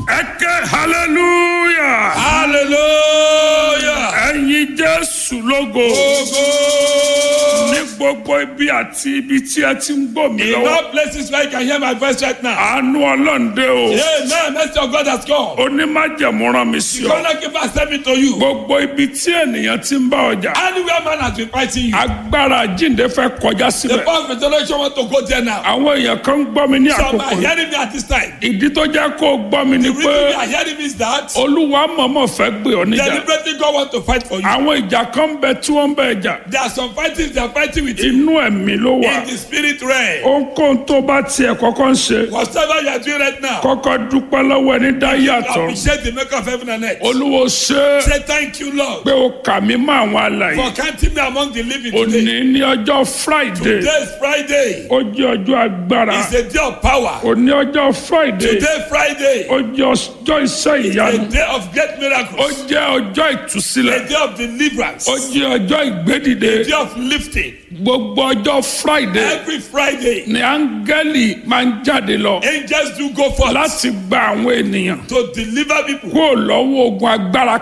Ẹ ké hallelujah. Hallelujah. Ẹ̀yin Jésù lógo. Ogo. Ní gbogbo ibi àti ibi tí ẹ ti ń gbọ́ mi In lọ́wọ́. all places where you can hear my voice right now. Àánú Ọlọ́run dé o. Amen. Mercy of God has come. Onímájẹ̀mú rán mi sí The ọ. covenant keeper sent me to you. Gbogbo ibi tí ènìyàn ti ń bá ọjà. Anywhere man has been fighting you. Agbára jíǹde fẹ́ kọjá The síbẹ̀. power of resurrection want to go there now. Àwọn èèyàn kan ń gbọ́ mi ní Some àkókò are yìí. hearing me at this time. Ìdí tó jẹ́ kó o gbọ́ mi ni The pé reason they are hearing me is that Olúwa mọ̀ọ́mọ̀ fẹ́ gbé ọ níjà. deliberately God want to fight for you. Àwọn ìjà kan ń bẹ tí wọ́n ń bẹ jà. There are some fightings they are fighting with you Inú ẹ̀mí ló wà. in the spirit realm. Ohunkóhun tó bá tiẹ̀ kọ́kọ́ ń ṣe. Whatever you are doing right now, Kọ́kọ́ dúpẹ́ lọ́wọ́ ẹni dá yàtọ̀. appreciate the maker of heaven and earth. Olúwo ṣe é Say thank you, Lord, pé o kà mí mọ́ àwọn alààyè. for counting me among the living today. Òní ní ọjọ́ Friday. Today is Friday. Ó jẹ́ ọjọ́ agbára. It's a day of power. Òní ọjọ́ Friday. Today, Friday, Ó jẹ́ ọjọ́ iṣẹ́ ìyanu. a day of great Ó miracles, jẹ́ ọjọ́ ìtúsílẹ̀. a day of deliverance, Ó a jẹ́ ọjọ́ ìgbédìde. day of lifting. Gbogbo ọjọ́ Friday Every Friday, ni áńgẹ́lì máa ń jáde lọ angels do go forth láti gba àwọn ènìyàn to deliver people kúrò lọ́wọ́ ogun agbára